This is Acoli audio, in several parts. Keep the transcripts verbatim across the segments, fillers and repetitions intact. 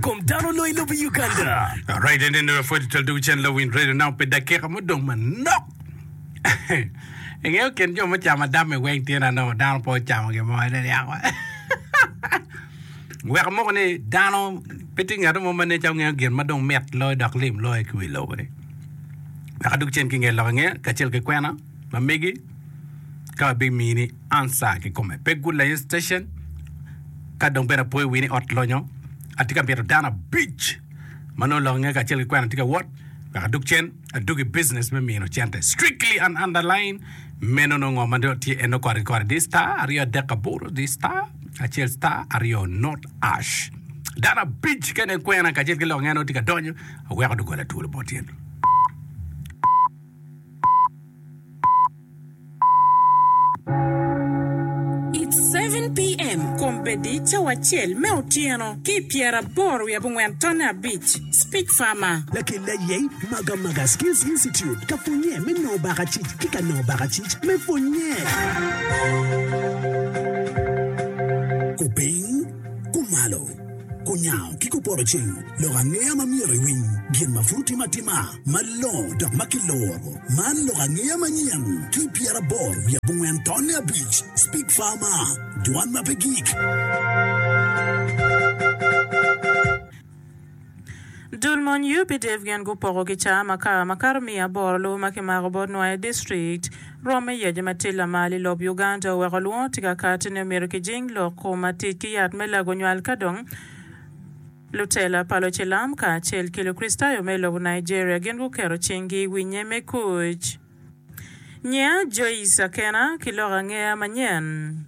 Kom dano loyo lobo Uganda. Alright, and then pwod twal dugu cen lawiny radio now pi dakika mudong manok. Ingeyo kin jo mucamo adam i weng tye na nongo dano pe ocamo gin mo ene yako. Wek amoko ni dano pe tye ngat mo ma nen calo ngeyo gin ma dong mit loyo dok lim loyo ki wi lobo ni. Wek adug cen ki nge lok angeya kacel ki kwena ma megi ka wabimini answer kikome. Pe good lain station ka dong bene apoyo wi ni ot lonyo atye ka mito dano abic ma nongo lok angeya kacel ki kwena tye ka wot wek adug cen adug i business me mino cente strictly and underline meno nongo ngo ma tye eno kore ki kore di star aryo adek aboro di star acel star aryo not ash dano abic ka inen kwena kacel ki lok angeya nongo tye ka donyo aweko dogola twolo bot tyen. It's seven PM Kombeddi cawa acel me otyeno ki i pyeraboro wiye abongwen tonne abic Speech Farmer. Lakel aye Magamaga Skills Institute ka pwonye me nongo bakacic ki ka nongo bakacic me pwonye. Kupiny, kumalo, kunyango ki kupoto ceng, lok angeya ma myero iwiny, gin ma pud otime atima, malongo dok ma kiloro. Man lok angeya manyen ki pyeraboro wiye abongwen tonne abic. Speak Farmer, dwan ma pe gik. Dul mony U P D F gin gupoko kicaa makar makato miya aboro lubo ma kimako bot Nwoya District. Rwom me yaco ma tye lamal i lob Uganda oweko lwongo tye ka kati ni omyero kijing lok kom ma tic ki yat me lago nywal ka dong lutela pa lucilam kacel ki Lukricitayo me lobo Nigeria gin guketo cinggi i winye me kuc. Nyia Joyce Akena ki lok angeya manyen.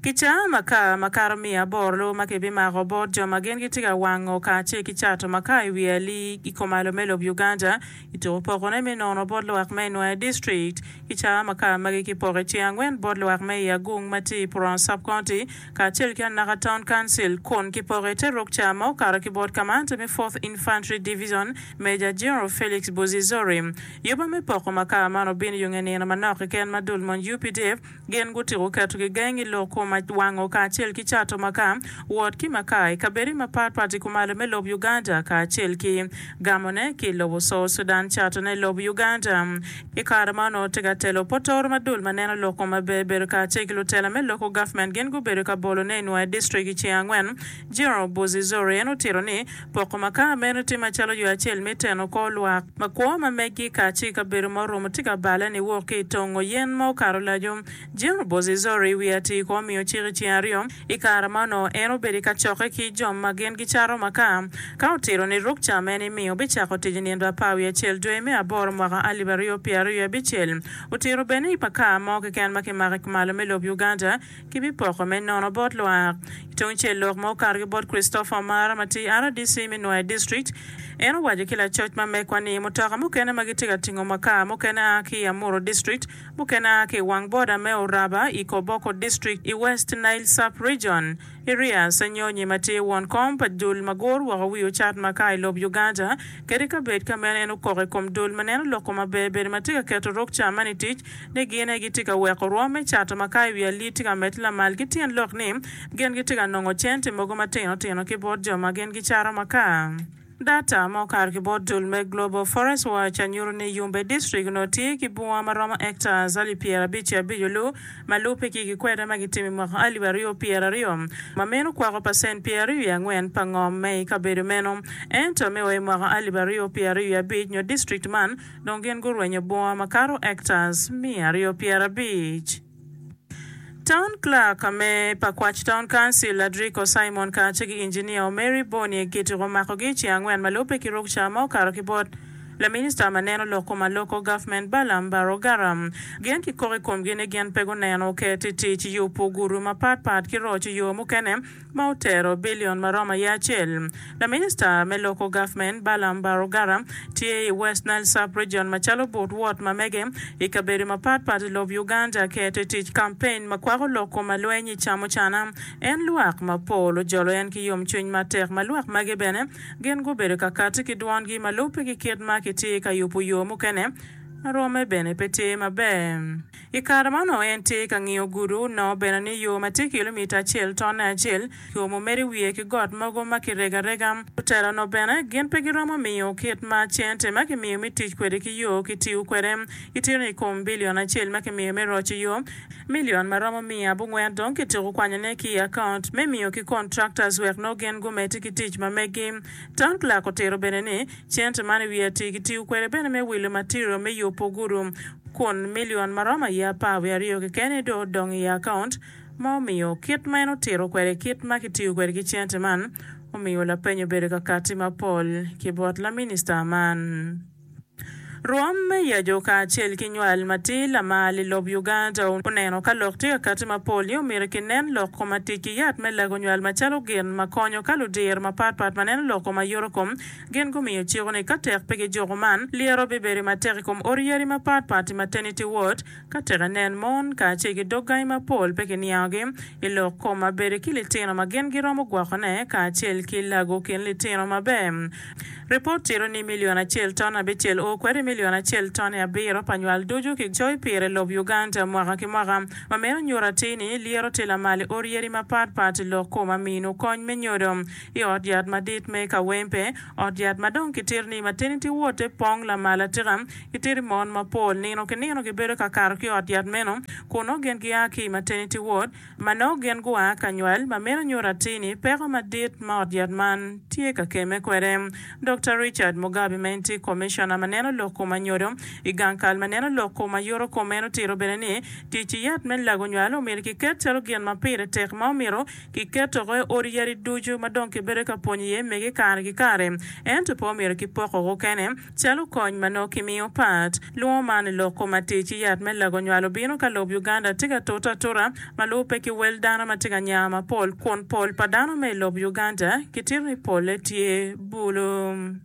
Kicaa makar makato miya aboro lubo ma kibimako bot jo ma gin gitye ka wango kacel ki cato makar i wi ali i kumalo me lob Uganda i tuko pokone me nono bot lwak me Nwoya District. Kicaa makar magi kipoko i ceng angwen bot lwak me i Agung ma tye i Puron Sub-County kacel ki Anaka Town Council kun kipoko i te rukca ma okato ki bot kamante me fourth Infantry Division Major General Felix Buzizori. Yuba me poko makar man obino yo nge nino manok keken ma dul mony U P D F gin gutiko keto gigeng i lok kom wango kacel ki cato makar wot ki makar i kabedo mapatpat i kumalo me lob Uganda kacel ki gamone ki lobo South Sudan catone lob Uganda. I kare ma onongo tye ka telo potoro ma dul ma neno lok kom maber bedo kacel ki lutela me local government gin gubedo ka bolone i Nwoya District i ceng angwen. General Buzizori en otito ni poko makar meno tye macalo yo acel me teno kor lwak ma kwo ma megi kacel ki kabedo ma oromo tye ka bale ni wok ki i tongo yen ma okato laco. General Buzizori wiye atir ko omiyo cik i ceng aryo i kare ma onongo en obedo ka cokke ki jo ma gin gicato makar ka otito ni rukca meno imiyo bicako tic i nindo apar wiye acel dwe me aboro mwaka alip aryo pyeraryo wiye abicel. Otito bene ni makar mo keken ma kimako i kumalo me lob Uganda kibipoko me nono bot lwak. Tung cel lok ma okato ki bot Christopher Omara ma tye R D C me Nwoya District en owaco ki lacoc ma mekwa ni mutoka mukene ma gitye ka tingo makar mukene a ki i Amuru District mukene a ki i wang boda me Oraba i Koboko District i West Nile Sub-Region. Iria Senyonyi ma tye won kom pa dul ma gur woko wi ocat makar i lob Uganda kadi ka bed ka meno en okoko i kom dul ma neno lok kom maber bedo ma tye ka keto rukca man i tic ni gin aye gitye ka weko rwom me cato makar i wi ali tye ka medde lamal ki tyen lok ni gin gitye ka nongo cente mogo matino tino ki bot jo ma gin gicato makar. Data ma okato ki bot dul me Global Forest Watch anyuto ni Yumbe District onongo tye ki bunga ma romo hectares alip pyerabic abic olu ma lubbe ki gikwede ma gitimo i mwaka alip aryo pyeraryo ma meno kwako pacent pyeraryo wiye angwen pa ngom me i kabedo meno. Ento me wa i mwaka alip aryo pyeraryo wiye abic nyo district man dong gin gurwenyo bunga makato hectares miya aryo pyerabic. Town Clerk me Pakwach Town Council Adrico Simon kacel ki engineer Mary Boni kitiko makogi i ceng angwen ma lubbe ki rukca ma okato ki bot laminista ma neno lok kom local government Balaam Barugara. Gin kikoko i komgi ni gin pe guneno ket i tic yubo gudu mapatpat ki roco yo mukene ma otero bilion ma romo aye acel. Laminista me local government Balaam Barugara tye i West Nile Sub-Region macalo but wot ma mege i kabedo mapatpat i lob Uganda keto i tic campaign ma kwako lok kom alweny i camucana. En lwak mapol ojolo en ki yomcwiny matek ma lwak magi bene gin gubedo ka kati ki dwongi ma lubbe ki kit ma kitye ka yubo yo mukene Ma rwomme bene pe tye maber. I kare ma onongo en tye ka ngiyo gudo, onongo bene ni yo ma tye kilomita acel tonne acel kiomo medo i wiye ki got mogo ma kirego arega. Lutela onongo bene gin pe giromo miyo kit ma cente ma kimiyo me tic kwede ki yo kitiyo kwede. Gitito ni i kom bilion acel ma kimiyo me roco yo, milion ma romo miya abongwen dong kityeko kwanyone ki i akaunt me miyo ki contractors wek nongo gin gumedde ki tic ma meggi. Town Clerk otito bene ni cente man i wiye atir kitiyo kwede bene me wilo material me yubo gudo kun milion ma romo aye apar wiye aryo keken aye dong odong i akaunt ma omiyo kit ma en otito kwede kit ma kitiyo kwede ki cente man omiyo lapeny obedo ka kati mapol ki bot laminista man. Rwom me yaco kacel ki nywal matir lamal i lob Uganda oneno ka lok tye ka kati mapol ni omyero kinen lok kom tic ki yat me lago nywal macalo gin ma konyo ka ludiro mapatpat ma neno lok kom ayoto kom gin gumiyo ciko ni ka tek pe gijuko man lyero bibedo matek i kom odi yadi mapatpat i maternity ward ka tek inen mon kacel ki dog gangi mapol pe kiniangogi i lok kom ma bedo ki litino ma gin giromo gwokone kacel ki lago kin litino maber. Ripot tito ni milion acel ton abicel o kwede milion acel ton abiro pa nywal ducu kicoyo pire lob Uganda mwaka ki mwaka ma meno nyuto atir ni lyero tye lamal i odi yadi mapatpat i lok kom amino kony me nyodo i ot yat madit me Kawempe ot yat ma dong kitito ni maternity ward te pong lamal atika kitito mon mapol nino ki nino gibedo ka kato ki ot yat meno kun nongo gin gia ki i maternity ward ma nongo gin gua ka nywal ma meno nyuto atir ni peko madit ma ot yat man tye ka kemme kwede. Dr. Richard Mugabe ma en tye commissioner ma neno lok kom anyodo i gang kal ma neno lok kom ayoto kom en otito bene ni tic i yat me lago nywal omyero kiket calo gin ma pire tek ma omyero kiket oko i odi yadi ducu ma dong kibedo ka pwonyo iye mege kare ki kare ento pe omyero kipoko oko kene calo kony ma nongo kimiyo pat. Lwongo man i lok kom atic i yat me lago nywal obino ka lob Uganda tye ka tute atuta ma lubbe ki wel dano ma tye ka nya mapol kun pol pa dano me i lob Uganda kitito ni polle tye bulu.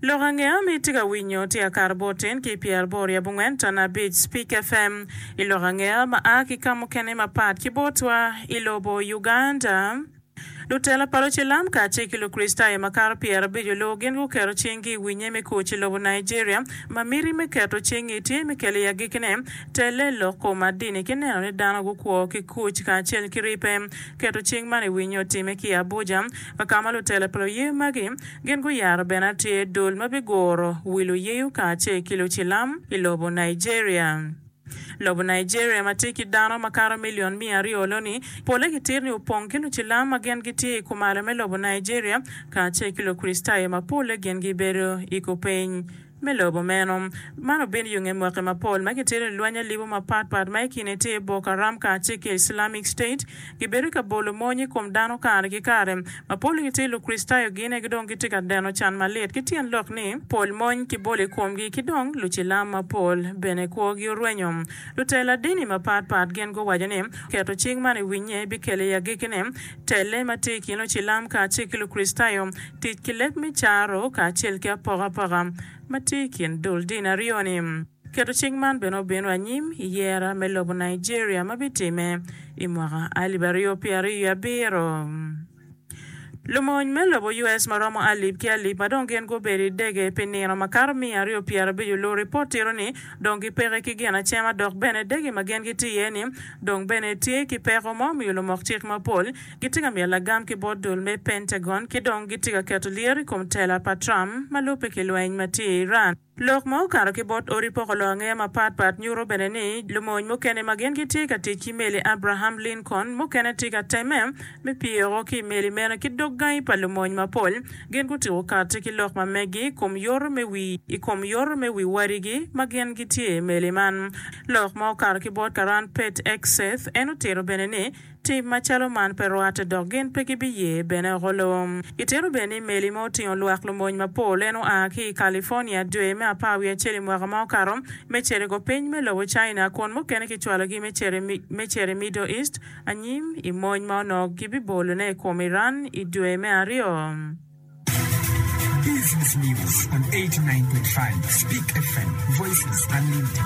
Lok angeya ma itye ka winyo tye akato bot tin ki pyeraboro i abongwen ton abic Speak FM i lok angeya ma a ki ka mukene mapat ki botwa i lobo Uganda. Lutela pa Lucilam kacel ki Lukricitayo makato pyerabic olubo gin guketo cinggi i winye me kuc i lobo Nigeria ma miti me keto cinggi tye me kelo i agikkine telle lok kom adini ki neno ni dano gukwo ki kuc kacel ki ripe. Keto cing man i winye otime ki i Abuja ka ka ma lutela pa luyeyo magi gin guyaro bene atir dul ma biguro wi luyeyo kacel ki Lucilam i lobo Nigeria. Lobo Nigeria ma tye ki dano makato milion miya aryo loni polle kitito ni opong ki Lucilam ma gin gitye i kumalo me lobo Nigeria kacel ki Lukricitayo ma polle gin gibedo i kupiny me lobo meno. Man obino yo nge mwaki mapol ma kitito ni lweny alibo mapatpat ma i kine tye Boko Haram kacel ki Islamic State gibedo ka bolo mony i kom dano kare ki kare. Ma polle gitye Lukricitayo gin aye dong gitye ka deno can malit ki tyen lok ni pol mony kibolo i komgi ki dong Lucilam mapol bene kwogi orwenyo. Lutela dini mapatpat gin guwaco ni keto cing man i winye bikelo i agikkine telle ma tye i kin Lucilam kacel ki Lukricitayo tic ki leb me caro kacel ki apokapoka ma tye i kin dul dini aryo-ni. Keto cing man bene obino anyim i yera me lobo Nigeria ma bitime i mwaka alip aryo pyeraryo wiye abiro. Lumony me lobo US ma romo alip ki alip ma dong gin gubedo i dege pi nino makato miya aryo pyerabic olubo ripot tito ni dong gipeke ki gin acema dok bene dege ma gin gitye iye ni dong bene tye ki peko ma omiyo lumok cik mapol gitye ka miyo lagam ki bot dul me Pentagon ki dong gitye ka keto lyero i kom tela pa Trump ma lubbe ki lweny ma tye i Iran. Lok ma okato ki bot odi poko lok angeya mapatpat nyuto bene ni lumony mukene ma gin gitye ka tic ki meli Abraham Lincoln mukene tye ka temme me pyeko ki i meli meno ki dog gangi pa lumony mapol gin gutyeko kati ki lok ma megi i kom yoto me wi i kom yoto me wi wadigi ma gin gitye i meli man. Lok ma okato ki bot Karan Pete Hegseth en otito bene ni tim macalo man pe rwatte dok gin pe gibiye bene oko lum. Gitito bene ni meli ma otingo lwak lumony mapol en oa ki i California dwe me apar wiye acel i mwaka ma okato me cito i kupiny me lobo China kun mukene kicwalogi me cito i Middle East anyim i mony ma onongo gibibolone i kom Iran i dwe me aryo. Business News on eighty-nine point five Speak F M, Voices Unlimited.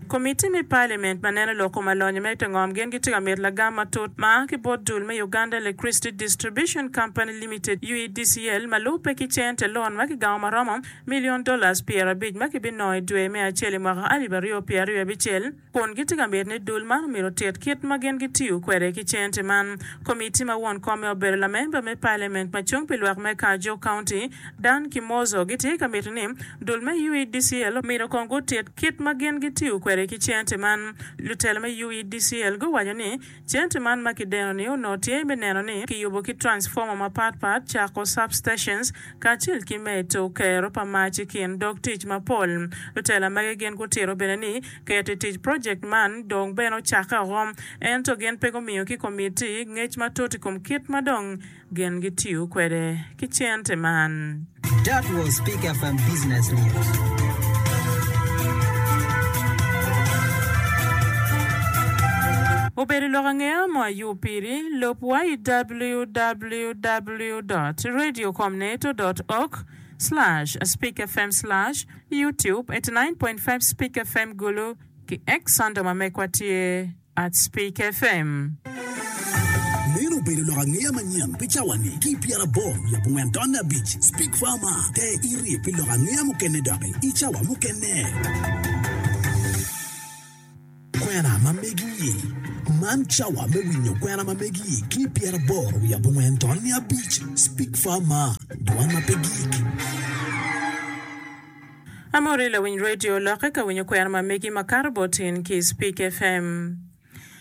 Komiti me Parliament ma neno lok kom alonyo me te ngom gin gitye ka mito lagam matut ma a ki bot dul me Uganda Electricity Distribution Company Limited, U E D C L, ma lubbe ki cente loan ma kigamo maromo million dollars pyerabic ma kibinongo i dwe me acel i mwaka alip aryo pyeraryo abicel, kun gitye ka mito ni dul man omyero otit kit ma gin gitiyo kwede ki cente man. Komiti ma won kome obedo lamemba me Parliament ma cung pi lwak me Kajo County, Dan Kimozo, gitye ka mito ni dul me U E D C L omyero kong gutit kit ma gin gitiyo kwede ki cente man. Lutelo me U E D C L guwaco ni cente man ma kideno-ni onongo tye me neno ni kiyubo ki transformer mapatpat, cako substations, kacel ki medo kero pa mac i kin dog tic mapol. Lutela magi gin gutito bene ni keto i tic project man dong bene ocakke oko, ento gin pe gumiyo ki komiti ngec matut i kom kit ma dong gin gitiyo kwede ki cente man. That was Speak F M Business News. Obedo lok angeya mo ayub piri, lub wa i W W W dot radiocomneto dot org slash speakfm slash youtube eighty-nine point five Speak F M Gulu ki X handle ma mekwa tye at Speak F M. Meno obedo lok angeya manyen pi cawa-ni ki pyeraboro wiye abongwen tonne abic Speak Farmer te iri pi lok angeya mukene doki i cawa mukene. Kwena ma megi. Man cawa me winyo kwena ma megi ki pyeraboro wiye abongwen tonne abic Speak Farmer, dwan ma pe gik. Amore lawiny radio lokke ka winyo kwena ma megi makato botin ki Speak F M.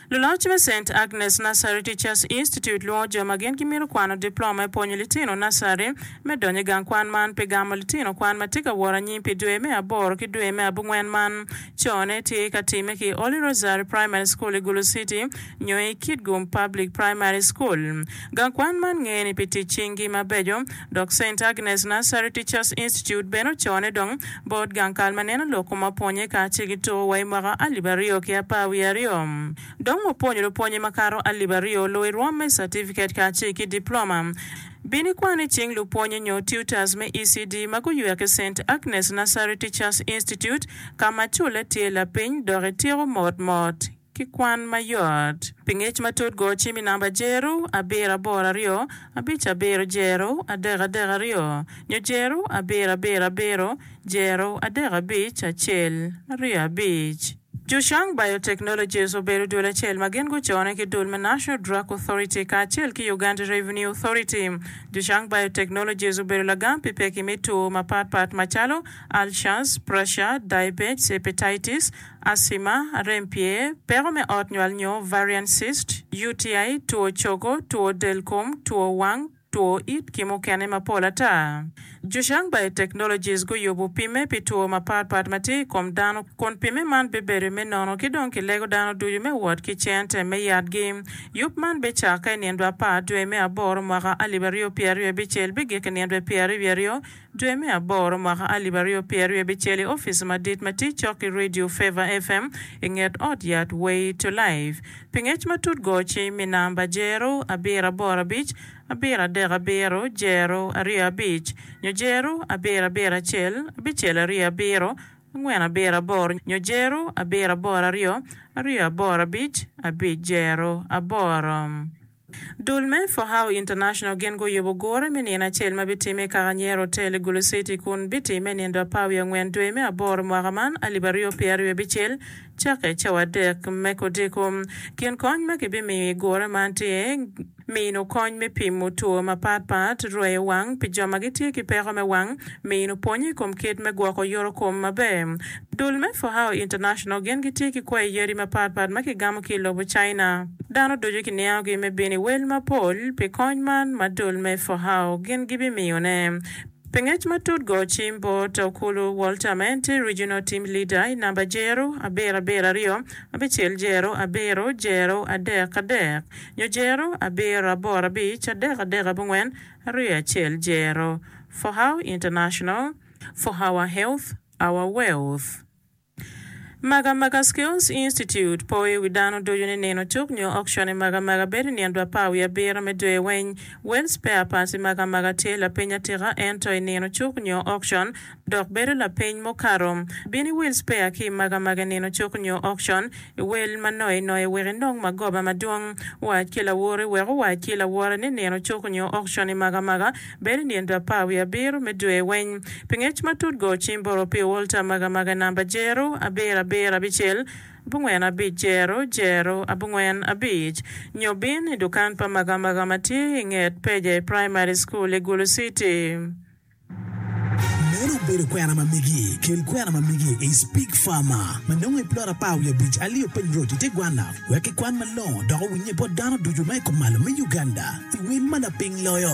Luloc me Saint Agnes Nursery Teachers Institute lwongo jo ma gin gimito kwano diploma i pwonyo litino nursery me donyo i gang kwan man pi gamo litino kwan ma tye ka wot anyim pi dwe me aboro ki dwe me abongwen man. Cone tye ka timme ki Holy Rosary Primary School i Gulu City nyo i Kitgum Public Primary School. Gang kwan man ngene pi tic cingi mabeco dok Saint Agnes Nursery Teachers Institute bene ocone dong bot gang kal ma neno lok kom apwonye kacel ki tuko wa i mwaka alip aryo ki apar wiye aryo. Dong opwonyo lupwonye makato alip aryo luwo i rwom me certificate kacel ki diploma. Bino ikwan i cing lupwonye nyo tutors me E C D ma guywek i Saint Agnes Nursery Teachers Institute ka ma culle tye lapiny dok ityeko motmot ki kwan mayot. Pi ngec matut go cim i namba jero abiro aboro aryo abic abiro jero adek adek aryo nyo jero abiro abiro abiro jero adek abic acel aryo abic. Jushang Biotechnologies obedo dul acel ma gin gucone ki dul me National Drug Authority kacel ki Uganda Revenue Authority. Jushang Biotechnologies obedo lagam pi peki me two mapatpat macalo ulcers, pressure, diabetes, hepatitis, asthma, arem pyer, peko me ot nywal nyo ovarian cyst, U T I, two cogo, two del kom, two wang, two it ki mukene mapol ata. Jushang Biotechnologies guyubo pimme pi two mapatpat ma tye i kom dano kun pimme man bibedo me nono ki dong kilego dano ducu me wot ki cente me yatgi. Yub man bicakke i nindo apar dwe me aboro mwaka alip aryo pyeraryo abicel bigik i nindo pyeraryo aryo dwe me aboro mwaka alip aryo pyeraryo abicel i opic madit ma tye cok ki Radio Fever F M i nget ot yat Way to Life. Pi ngec matut go cim i namba jero abiro aboro abic abiro adek abiro jero aryo abic nyo jero abiro abiro acel abicel aryo abiro angwen abiro aboro nyo jero abiro aboro aryo aryo aboro abic abic jero aboro. Dul me For How International gin guyubo gure me nino acel ma bitime i Kakanyero Hotel i Gulu City kun bitime nindo apar wiye angwen dwe me aboro mwaka man alip aryo pyeraryo abicel cakke cawa adek me kodiko. Kin kony ma kibimiyo i gure man tye mino kony me pimo two mapatpat, rweyo wang pi jo ma gitye ki peko me wang, mino pwonye i kom kit me gwoko yoto kom maber. Dul me For How International gin gitye ki kwayi yadi mapatpat ma kigamo ki i lobo China. Dano ducu kiniangogi me bino i wel mapol pi kony man ma dul me For How gin gibimiyone. Pi ngec matut go cim bot Okulu Walter ma en tye Regional Team Leader i namba jero abiro abiro aryo abicel jero abiro jero adek adek nyo jero abiro aboro abic adek adek abongwen aryo acel jero. For How International, for our health, our wealth. Magamaga Skills Institute po i wi dano ducu ni nino cuk nyo auction i Magamaga bedo i nino apar wiye abiro me dwe weng. Wel spare parts i Magamaga tye lapiny atika ento i nino cuk nyo auction dok bedo lapiny mukato. Bin i wel spare ki i Magamaga i nino cuk nyo auction i wel ma noi noi wek inong magoba madwong. Wac ki lawoti wek owac ki lawote ni nino cuk nyo auction i Magamaga bedo i nino apar wiye abiro me dwe weng. Pi ngec matut go cim bot Opio Walter Magamaga namba jero abiro abiro abicel abongwen abic jero jero abongwen abic nyo bin i dukan pa Magamaga ma tye i nget Peje Primary School i Gulu City. Meno obedo kwena ma megi. Kel kwena ma megi i Speak Farmer ma nongo i plot apar wiye abic Aliyo Piny Road i te Gwana wek kikwan malongo dok owinye bot dano ducu ma i kom malo me Uganda i wel ma lapiny loyo.